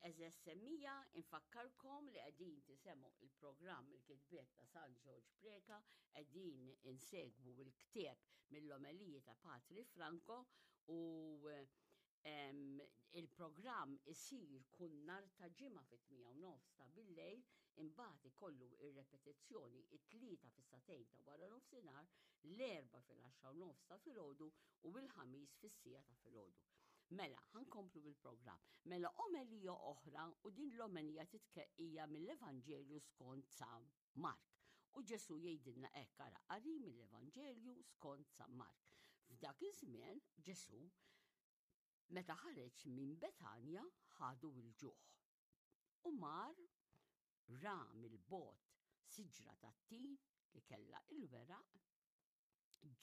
Eżess semmija, infakkarkom li qegħdin tisemgħu il-programm il-kitbiet ta' San Ġorġ Preka, qegħdin insegwu l-ktieb mill-omeliji ta' Patri Franco u il-programm isir kull nhar ta' ġimgħa fit-8 u nofs ta' billejl, imbagħad ikollu ir-repetizzjoni it-tlieta fis-sagħtejn ta' wara nofsinhar, l-erba' fil-10 u nofs ta' filgħodu u l-ħamis fis-siegħa ta' filgħodu. Mela, ħankomplu bil-programm. Mela omelija oħra u din l-omelija titkeqija mill-Evanġelju skont San Mark. U Ġesu jgħidilna hekk ara qari mill-Evanġelju skont San Mark. F'dak iż-żmien Ġesu meta ħareġ minn Betanja ħadu l-ġuħ. U mar ra mill-bot siġra tat-tin li kellha il-weraq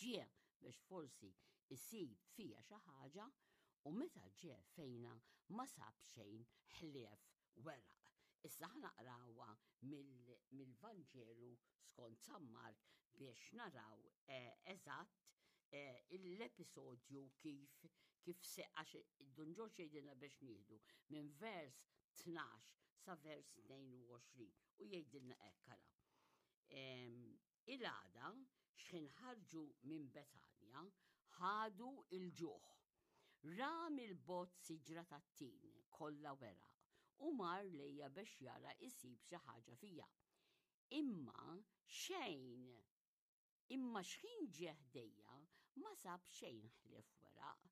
ġie biex forsi isib fija xi ħaġa u meta ġie fejna ma sab xejn ħlief weraq. Issa ħa naqrawha mill-Vanġelu skont San Mark biex naraw eh, eżatt eh, l-episodju kif kif se għax Dun Ġorġ jgħidilna biex nieħdu minn vers 12 sa vers 22 u jgħidilna hekk ara. Il-għada, xħin ħarġu minn Betanja, ħadu l-ġuħ. Ra mill-bogħod siġra tat-tin kollha weraq u mar lejha biex jara isib xi ħaġa fiha. Imma xejn! Imma xħin ġie ħdejha ma sab xejn ħlief weraq,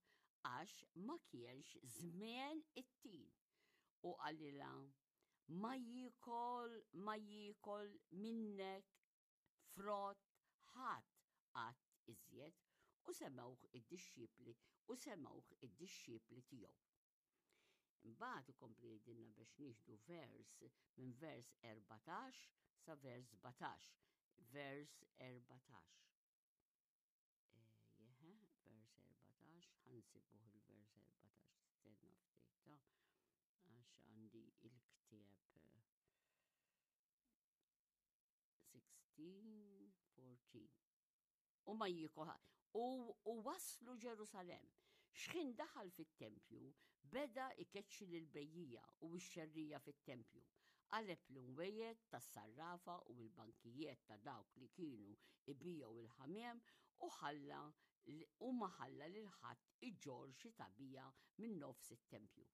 għax ma kienx żmien it-tin. U qalilha, Ma jiekol, ma jiekol minnek frott ħadd qatt iżjed u semgħuh id-dixxipli u semgħuh id-dixxipli tiegħu. Imbagħad ikompli jgħidilna biex nieħdu vers minn vers 14 sa vers 17. Vers 14. Jeħe, vers 14, ħansibuh il-vers 14, stenna ftit ta' għax għandi il-ktieb 16, 14. U ma jikoħa. U, u waslu Ġerusalem. Xħin daħal fit-tempju, beda ikeċċi lil bejjija u x-xerrija fit-tempju. Qaleb l-imwejjed tas-sarrafa u l-bankijiet ta' dawk li kienu ibigħu l-ħamiem u ħalla u ma ħalla lil ħadd iġorr xi tagħbija minn nofs it-tempju.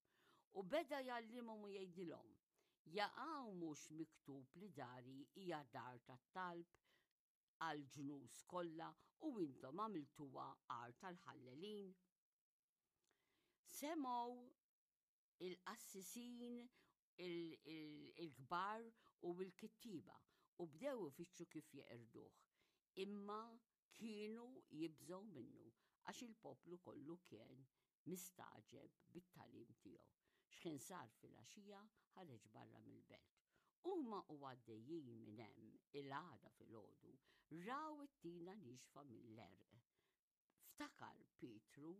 U beda jgħallimhom u jgħidilhom, Jaqaw mhux miktub li dari hija dar tat-talb għall-ġnus kollha u intom għamiltuha għar tal-ħallelin? Semgħu il-qassisin il-kbar u l-kittieba u bdew ifittxu kif jeqirduh. Imma kienu jibżgħu minnu għax il-poplu kollu kien mistagħġeb bit-tagħlim tiegħu. X'ħin sar filgħaxija ħareġ barra mill-belt. Huma u għaddejjin minn hemm il-għada filgħodu raw it-tina niexfa mill-għerq. Ftakar Pietru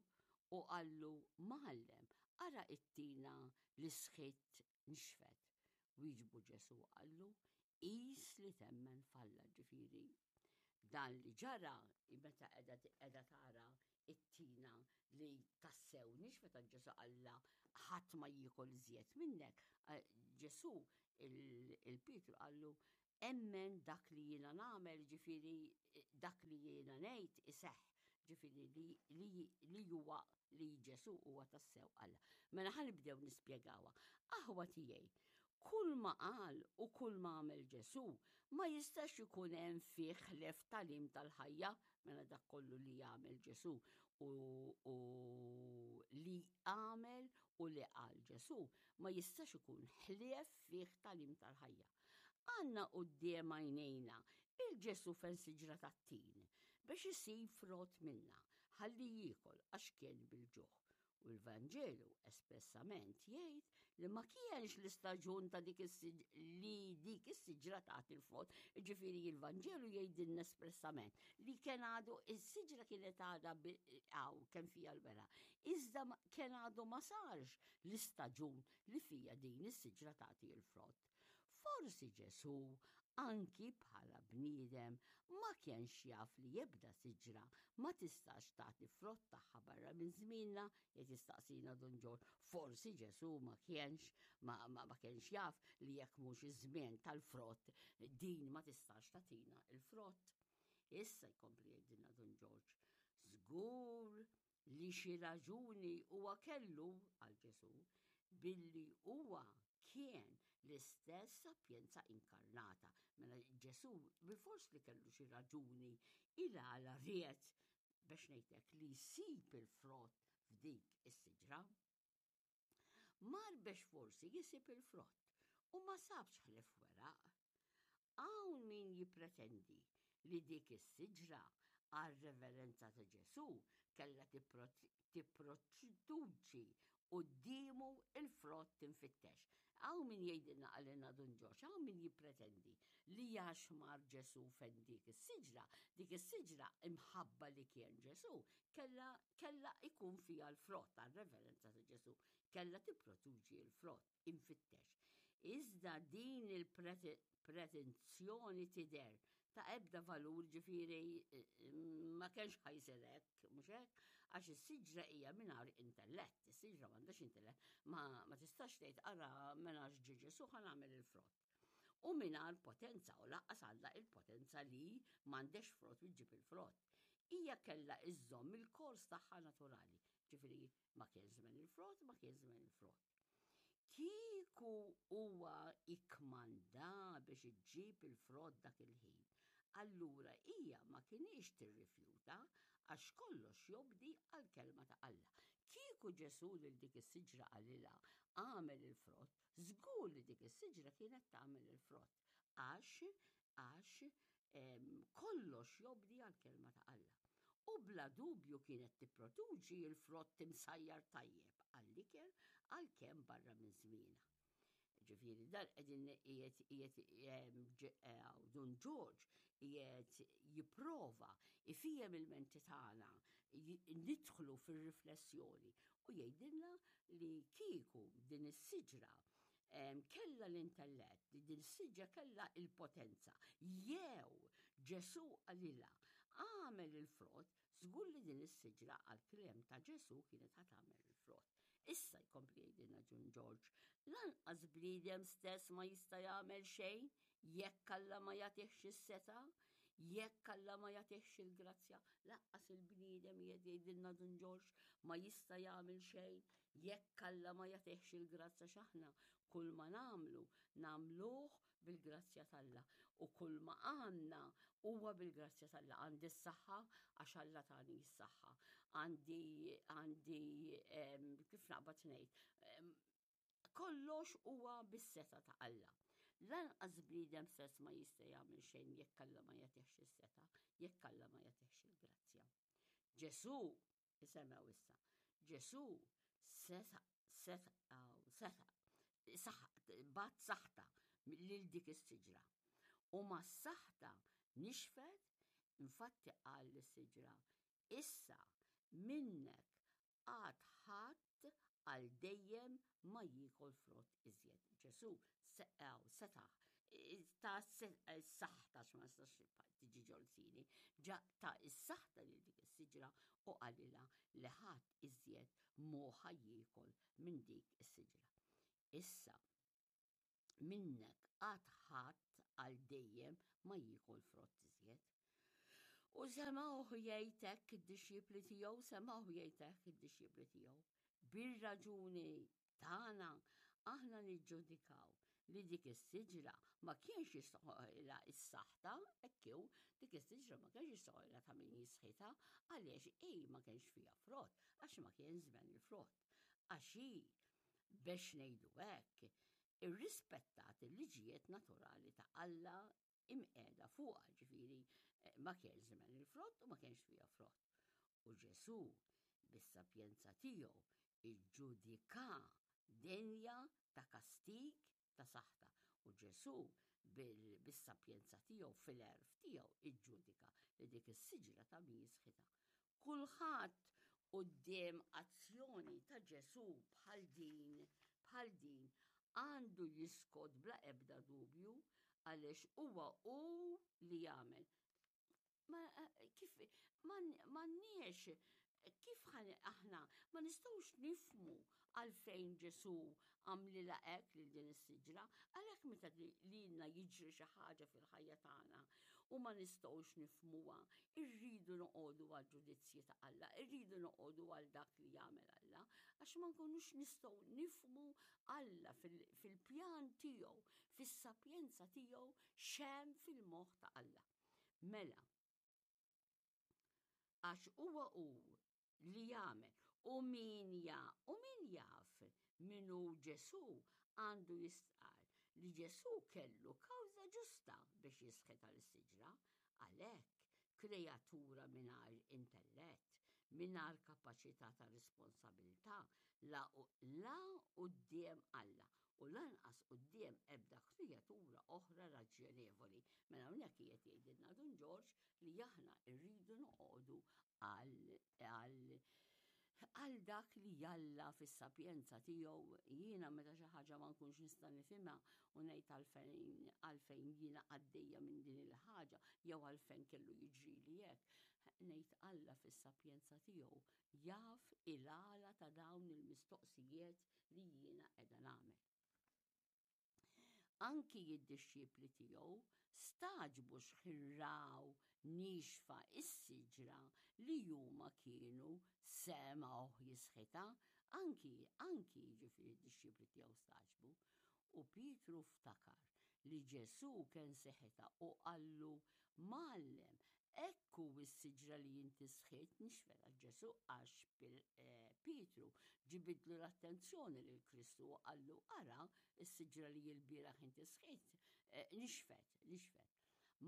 u qallu, Mgħallem, ara t-tina li sħitt nixfet. Wieġbu Ġesù u qallu, Qis li temmen f'Alla, ġifieri dan li ġara meta qiegħda tara it-tina li tassew nixfet għal Ġesù qalla ħadd ma jiekol iżjed minnek. Ġesù il-Pietru qallu Emmen dak li jiena nagħmel, ġifieri dak li jiena ngħid iseħħ, ġifieri li, li, li huwa li Ġesu huwa tassew Alla. Mela ħa nibdew nispjegawha. Aħwa tiegħi, kull ma qal u kull ma għamel Ġesu ma jistax ikun hemm fih ħlef talim tal-ħajja, mela dak kollu li jagħmel Ġesu u, u li għamel u li qal Ġesu ma jistax ikun ħlief fih talim tal-ħajja. Għandna quddiem għajnejna il-Ġesu fejn siġra tat-tin biex isib frott minna ħalli jiekol għax kien bil-ġuħ. U l-Vanġelu espressament jgħid li ma kienx l-istaġun ta' dik li dik is-siġra tagħti l-frott. Ġifieri l-Vanġelu jgħidilna espressament li kien għadu is-siġra kienet għadha għaw kemm fija l-wera. Iżda kien għadu ma sarx l-istaġun li fija din is-siġra tagħti l-frott. Forsi Ġesù. anki bħala bniedem, ma kienx jaf li ebda siġra ma tistax tagħti frott tagħha barra minn żmienna, qed jistaqsina Dun Ġorġ. Forsi Ġesù ma kienx ma, ma, ma kienx jaf li jekk mhux iż-żmien tal-frott din ma tistax tagħtina il-frott. Issa jkompli jgħidilna Dun Ġorġ, żgur li xi raġuni huwa kellu għal Ġesù billi huwa kien l-istess sapjenza inkarnata. Mela Ġesù bilfors li kellu xi raġuni il għala ried biex ngħidlek li jsib il-frott f'dik is-siġra. Mar biex forsi jisib il-frott u ma sabx ħlief weraq. Hawn min jippretendi li dik is-siġra għar-reverenza ta' Ġesù kellha tipproduċi quddiemu il-frott imfittex. Hawn min jgħidilna qalilna Dun Ġorġ, hawn min jippretendi li għax mar Ġesù fejn dik is-siġra, dik is-siġra imħabba li kien Ġesù kellha kellha ikun fiha l-frott għar-reverenza ta' Ġesù, kellha tipproduċi l-frott imfittex. Iżda din il-pretenzjoni tidher ta' ebda valur ġifieri ma kienx ħa jsir hekk, mhux hekk? Għax is-siġra hija mingħajr intellett, is-siġra m'għandhiex intellett, ma, ma tistax tgħid ara mela ġie Ġesù ħa nagħmel il-frott. U mingħajr potenza u lanqas għandha il-potenza li m'għandhiex frott u ġġib il-frott. Hija kellha iżżomm il-kors tagħha naturali, ġifieri ma kien żmien il-frott, ma kien żmien il-frott. Kieku huwa ikkmanda biex iġġib il-frott dak il-ħin, allura hija ma kinitx tirrifjuta għax kollox jobdi għall-kelma ta' Alla. Kieku Ġesù lil dik is-siġra qalilha agħmel il-frott, żgur li dik is-siġra kienet tagħmel il-frott għax għax kollox jobdi għall-kelma ta' Alla. U bla dubju kienet tipproduċi l-frott imsajjar tajjeb għall-ikel għalkemm barra minn żmienha. Ġifieri dan qegħdin qiegħed qiegħed Dun Ġorġ qiegħed jipprova ifiem il-menti tagħna nidħlu fir-riflessjoni u jgħidilna li kieku din is-siġra kellha l-intellett, li din is-siġra kellha il-potenza, jew Ġesù qalilha agħmel il-frott, żgur li din is-siġra għall-kliem ta' Ġesù kienet ħa tagħmel il-frott. Issa jkompli jgħidilna Dun Ġorġ, lanqas bniedem stess ma jista' jagħmel xejn jekk Alla ma jagħtihx is-setgħa, jekk Alla ma jagħtihx il-grazzja, lanqas il-bniedem qiegħed jgħidilna Dun Ġorġ ma jista' jagħmel xejn jekk Alla ma jagħtihx il-grazzja x'aħna kull ma nagħmlu nagħmluh bil-grazzja t'Alla u kull ma għandna huwa bil-grazzja t'Alla. Għandi s-saħħa għax Alla tani s-saħħa. Għandi għandi kif naqbad ngħid, kollox huwa bis-setgħa ta' Alla. Lanqas bniedem stess ma jista' jagħmel xejn jekk Alla ma jagħtihx is-setgħa, jekk Alla ma jagħtihx il-grazzja. Ġesù, isemgħu issa, Ġesù seta' seta' seta' bagħat saħta lil dik is-siġra. U mas-saħta nixfet, infatti qal lis-siġra, issa minnek għad ħadd għal dejjem ma jiekol frott iżjed. Ġesù seta' ta' s-saħta ma nistax tiġi ġolsini, ġa ta' s-saħta lil dik is-siġra u qalilha li ħadd iżjed mhu ħa jiekol minn dik is-siġra. Issa, minnek għad ħadd għal dejjem ma jiekol frott iżjed. U semgħuh jgħid hekk id-dixxipli tiegħu, semgħuh jgħid hekk id-dixxipli tiegħu. Bir-raġuni tagħna aħna niġġudikaw li dik is-siġra ma kienx jistħoqilha s-saħta, hekk hu, dik is-siġra ma kienx jistħoqilha ta' min jisħitha għaliex hi ma kienx fiha frott, għax ma kien żmen il-frott. Għax hi biex ngħidu hekk, irrispettat il-liġijiet naturali ta' Alla imqiegħda fuqha, ġifieri eh, ma kienx żmen il-frott u ma kienx fiha frott. U Ġesù bis-sapjenza tiegħu iġġudika denja ta' kastig ta' saħta. U Ġesù bis-sapjenza tiegħu fil-għerf tiegħu iġġudika li dik is-siġra ta' min jisħitha. Kulħadd quddiem azzjoni ta' Ġesù bħal din, bħal din, għandu jiskot bla ebda dubju. Għaliex huwa hu li jagħmel. Ma kif m'għandniex kif aħna ma nistgħux nifmu għalfejn Ġesù għamlilha hekk lil din is-siġra, għalhekk meta lilna jiġri xi ħaġa fil-ħajja tagħna u ma nistgħux nifmuha, irridu noqogħdu għal ġudizzji ta' Alla, irridu noqogħdu għal dak li jagħmel Alla, għax ma nkunux nistgħu nifmu Alla fil-pjan tiegħu, fis-sapjenza tiegħu x'hemm fil-moħħ ta' Alla. Mela, għax huwa hu li jagħmel u min ja u min jaf min hu Ġesù għandu jistqarr li Ġesù kellu kawża ġusta biex jisħet għal siġra għalhekk kreatura mingħajr intellett, mingħajr kapaċità ta' responsabilità la la quddiem Alla u lanqas quddiem ebda kreatura oħra raġjonevoli. Mela hawnhekk qiegħed jgħidilna Dun Ġorġ li aħna rridu noqogħdu għal għal għal dak li Alla fis-sapjenza tiegħu jiena meta xi ħaġa ma nkunx nista' nifhimha u ngħid għalfejn għalfejn jiena għaddejja minn din il-ħaġa jew għalfejn kellu jiġrili hekk. Ngħid Alla fis-sapjenza tiegħu jaf il-għala ta' dawn il-mistoqsijiet li jiena qiegħda nagħmel. Anki id-dixxipli tiegħu stagħġbu x'ħin raw niexfa s-siġra li huma kienu semgħuh jisħitha, anki anki jiġifieri d-dixxipli tiegħu stagħġbu. U Pietru ftakar li Ġesù kien seħitha u qallu, Mgħallem, hekk hu s-siġra li inti sħitt nixfet għax Ġesù għax eh, Pietru ġibidlu l-attenzjoni lil Kristu u qallu ara s-siġra li l-bieraħ inti sħitt eh, nixfet, nixfet.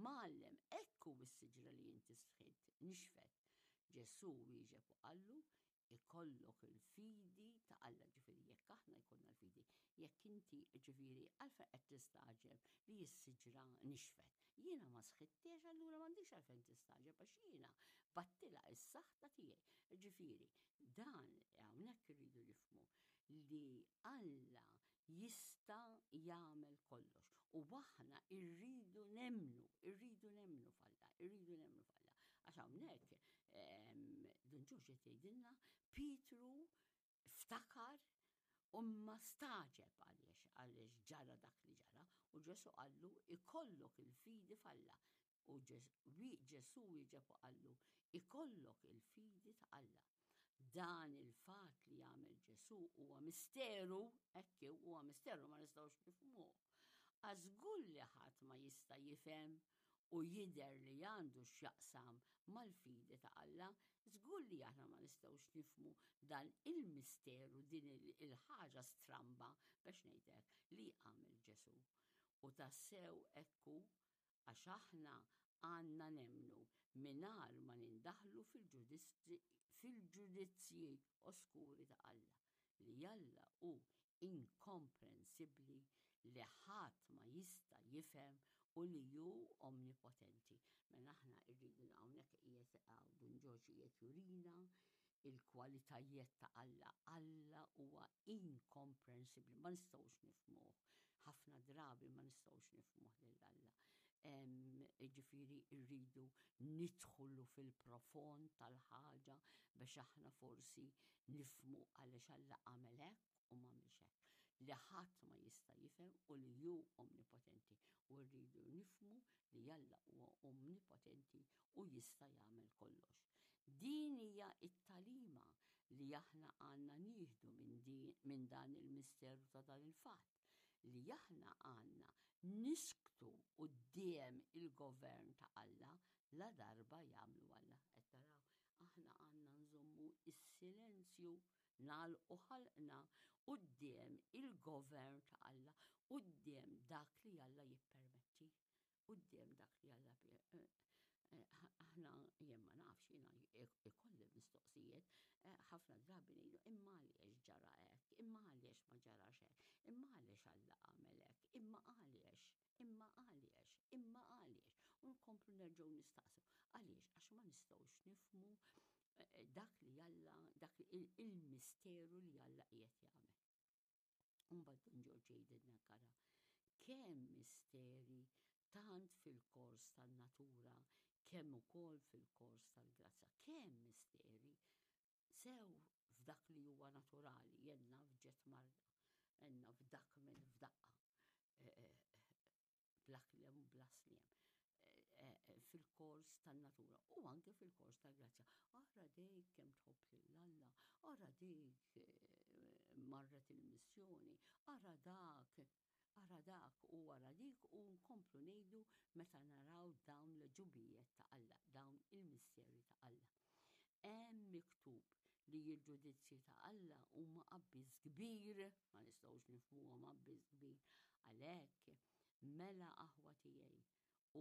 Mgħallem, hekk hu s-siġra li inti sħitt nixfet. Ġesù wieġeb u qallu, ikollok il-fidi ta' Alla, ġifieri jekk aħna jkollna l-fidi, jekk inti ġifieri għalfejn qed tistagħġeb li s-siġra nixfet. Jiena ma sħittiex allura m'għandix għalfejn tistagħġeb għax jiena battilha s-saħta tiegħi. Ġifieri dan hawnhekk irridu nifhmu li Alla jista' jagħmel kollox u aħna rridu nemmnu, irridu nemmnu f'Alla, irridu nemmnu f'Alla. Għax hawnhekk Dun Ġorġ qed jgħidilna Pietru ftakar u ma stagħġeb għaliex għaliex ġara dak li ġara u Ġesu qallu ikollok il-fidi f'Alla. U Ġesu wieġeb u qallu ikollok il-fidi ta' Alla. Dan il-fatt li għamel Ġesu huwa misteru, hekk huwa misteru ma nistgħux nifhmuh. Għax żgur li ħadd ma jista' jifhem u jidher li għandu x'jaqsam mal-fidi ta' Alla, żgur li aħna ma nistgħux nifhmu dan il-misteru, din il-ħaġa stramba biex ngħid hekk li għamel Ġesù. U tassew hekk hu għax aħna għandna nemmnu mingħajr ma nindaħlu fil-ġudizzji oskuri ta' Alla, li Alla hu inkomprensibbli li ħadd ma jista' jifhem u li hu omnipotenti. Mela aħna rridu hawnhekk qiegħed Dun Ġorġ qiegħed jurina il-kwalitajiet ta' Alla. Alla huwa inkomprensibbli, ma nistgħux nifhmuh. Ħafna drabi ma nistgħux nifhmuh lil Alla. Ġifieri rridu nidħlu fil-profond tal-ħaġa biex aħna forsi nifhmu għaliex Alla għamel hekk u m'għamilx hekk. Li ħadd ma jista' jifhem u li hu omnipotenti u rridu nifhmu li Alla huwa omnipotenti u jista' jagħmel kollox. Din hija t-tagħlima li aħna għandna nieħdu minn din minn dan il-misteru ta' dan il-fatt, li aħna għandna nisktu quddiem il-govern ta' Alla la darba jagħmlu Alla. Qed taraw, aħna għandna nżommu s-silenzju, nagħlqu ħalqna quddiem il-govern ta' Alla, quddiem dak li Alla jippermetti. Quddiem dak li Alla eh, eh, aħna jien ma nafx jiena ikolli mistoqsijiet, eh, ħafna drabi ngħidu imma għaliex ġara hekk, imma għaliex ma ġarax hekk, imma għaliex Alla għamel hekk, imma għaliex, imma għaliex, imma għaliex. U nkomplu nerġgħu nistaqsu. Għaliex? Għax ma nistgħux nifhmu dak li Alla, dak il-misteru li Alla qiegħed jagħmel. Mbagħad Dun Ġorġ jgħidilna kara. Kemm misteri tant fil-kors tan-natura kemm ukoll fil-kors tal-grazzja. Kemm misteri sew f'dak li huwa naturali, jien naf ġet marda, jien naf dak minn f'daqqa, eh, eh, bla kliem u bla sliem eh, fil-kors tan-natura u anke fil-kors tal-grazzja. Ara dik kemm tħobb lil Alla, ara dik marret il-missjoni, ara dak, ara dak u ara dik u nkomplu ngħidu meta naraw dawn l-ġubijiet ta' Alla, dawn il-misteri ta' Alla. Hemm miktub li l-ġudizzji ta' Alla huma abbiss kbir, ma nistgħux nifhmuhom abbiss kbir. Għalhekk, mela aħwa tiegħi,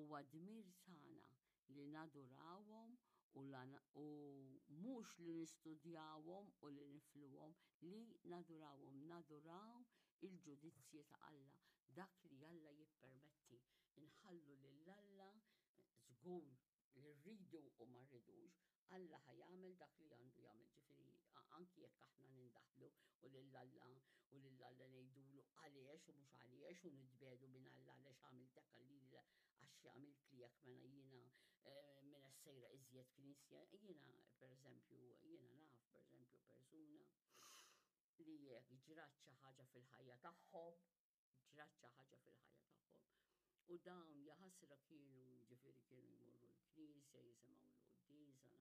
huwa dmir tagħna li nadurawhom u, u mhux li nistudjawhom u li nifluhom, li nadurawhom, naduraw il-ġudizzji ta' Alla, dak li Alla jippermetti, inħallu lil Alla żgur li rridu u ma rridux, Alla ħa jagħmel dak li għandu jagħmel, ġifieri anki jekk aħna nindaħlu u lil Alla u lil Alla ngħidulu għaliex u mhux għaliex u nitbedu minn Alla għaliex għamilt hekk lili għax għamilt li hekk mela jiena eh, minn sejra iżjed knisja, jiena pereżempju, jiena naf pereżempju persuna li jekk ġrat xi ħaġa fil-ħajja tagħhom, ġrat xi ħaġa fil-ħajja tagħhom. U dawn jaħasra kienu ġifieri kienu jmorru l-knisja, jisimgħu l-quddiesa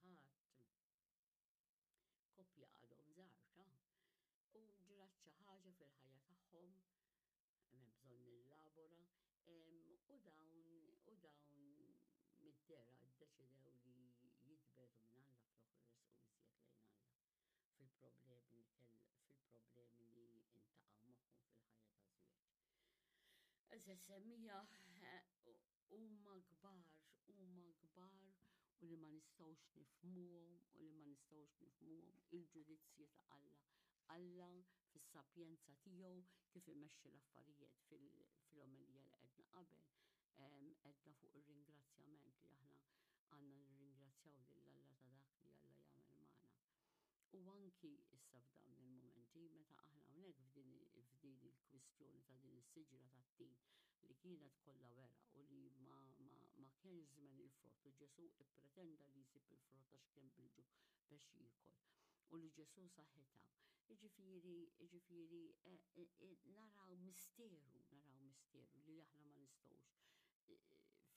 nhar ta' Ħadd. Koppja għadhom żgħar ta' u ġrat xi ħaġa fil-ħajja tagħhom, hemm bżonn nillabora, u dawn u dawn mid-dera ddeċidew li jitbedu minn Alla flok resqu iżjed lejn Alla. fil-problemi li kell fil-problemi li intaqgħu magħhom fil-ħajja taż-żwieġ. Eże semmija huma kbar, huma kbar u li ma nistgħux nifhmuhom u li ma nistgħux nifhmuhom il-ġudizzji ta' Alla. Alla fis-sapjenza tiegħu kif imexxi l-affarijiet fil-omelija li għedna qabel, għedna fuq ir-ringrazzjament li aħna għandna nirringrazzjaw lil Alla ta' dak li Alla jagħmel magħna. U anki issa f'dawn il-mumenti meta aħna hawnhekk f'din il-kwistjoni ta' din is-siġra tat-tin li kienet kollha weraq u li ma, ma, ma kienx żmen il-frott u Ġesù ippretenda li jsib il-frott għax kien bil-ġuħ biex jiekol u li Ġesù saħħitha. Jiġifieri, jiġifieri eh, eh, eh, naraw misteru, naraw misteru li aħna ma nistgħux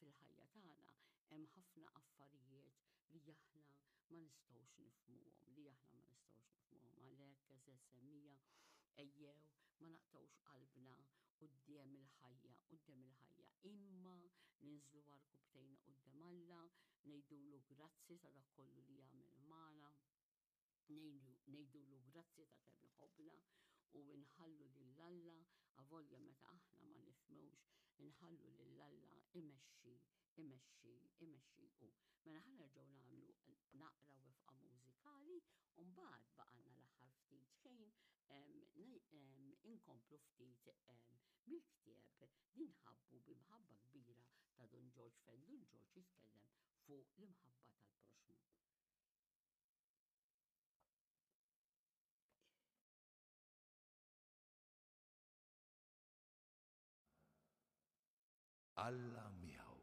fil-ħajja tagħna hemm ħafna affarijiet li aħna ma nistgħux nifhmuhom, li aħna ma nistgħux nifhmuhom. Għalhekk eżeż semmija ejjew ma naqtgħux qalbna quddiem il-ħajja, quddiem il-ħajja, imma ninżlu għarkupptejna quddiem Alla, ngħidulu grazzi ta' dak kollu li jagħmel magħna ngħidulu grazzi ta' kemm iħobbna u nħallu lil Alla avolja meta aħna ma nifhmux, inħallu lil Alla imexxi, imexxi, imexxi hu. Mela ħa nerġgħu nagħmlu naqra wefqa mużikali u mbagħad baqgħalna l-aħħar ftit ħin inkomplu ftit mill-ktieb li nħabbu bi mħabba kbira ta' Dun Ġorġ fejn Dun Ġorġ jitkellem fuq l-imħabba tal-proxxmu. Alla miegħu.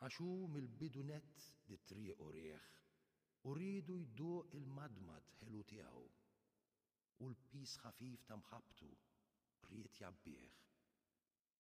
Għax hu mill-bidu nett dit-triq urieh u riedu jduq il-madmad ħelu tiegħu, u l-piż ħafif ta' mħabbtu ried jgħabbih.